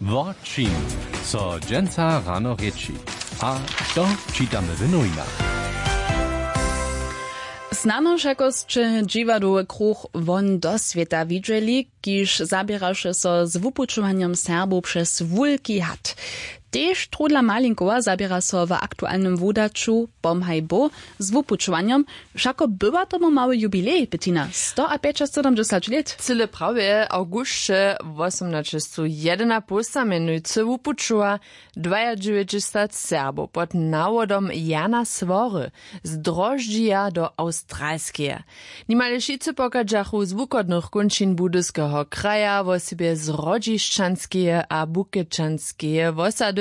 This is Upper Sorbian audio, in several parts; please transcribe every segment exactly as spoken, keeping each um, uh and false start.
Wo čim so dźensa rano rěči, a to čitamy w nowinach. Snano wšakosće dźiwadowy kruch Won do swěta widźeli, kiž zaběraše so z wupućowanjom Serbow přez wulki had. Tež Trudla Malinkowa zaběra so w aktualnym wudaću Pomhaj Bóh z wupućowanjom. Wšako bywa tomu mały jubilej, Bettina, sto a pjećasydomdźesać lět. Cyle prawje, awgusće wosomnaćestwu jedynapołsta mjenujcy wupućowa dwajadźewjećdźesat Serbow pod nawodom Jana Swory z Droždźija do Awstralskeje. Nimale wšitcy pochadźachu z wuchodnych kónčin Budyskeho kraja, wosebje z Hrodźišćanskeje a Bukečanskeje wosady,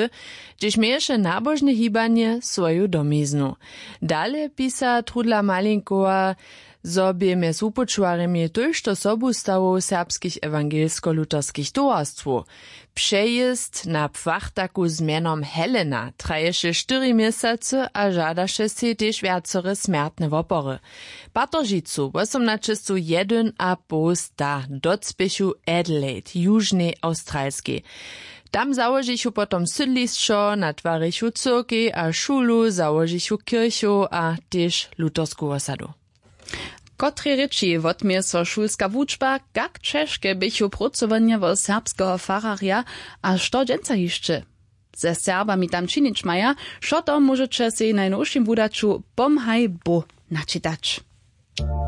hdźež měješe nabožne hibanje swoju domiznu. Dale pisa Trudla Malinkowa, zo bě mjez wupućowarjemi tójšto sobustawow serbskich ewangelsko-lutherskich towarstwow. Přejězd na płachtaku z mjenom Helena traješe štyri měsacy a žadaše sej tež wjacore smjertne wopory. Patržicu wosomnaćestwu jedyn a połsta docpěchu Adelaide, južnej Awstralskej. Tam załožichu potom sydlišćo, natwarichu cyrkej a šulu, załožichu kirchow a tež luthersku wosadu. Kotrej rěči wotměje so šulska wučba, kak ćežke běchu prócowanja wo serbskeho fararja a što dźensa hišće ze Serbami tam činić maja? Wšo to móžeće sej w najnowšim wudaću Pomhaj Bóh načitać.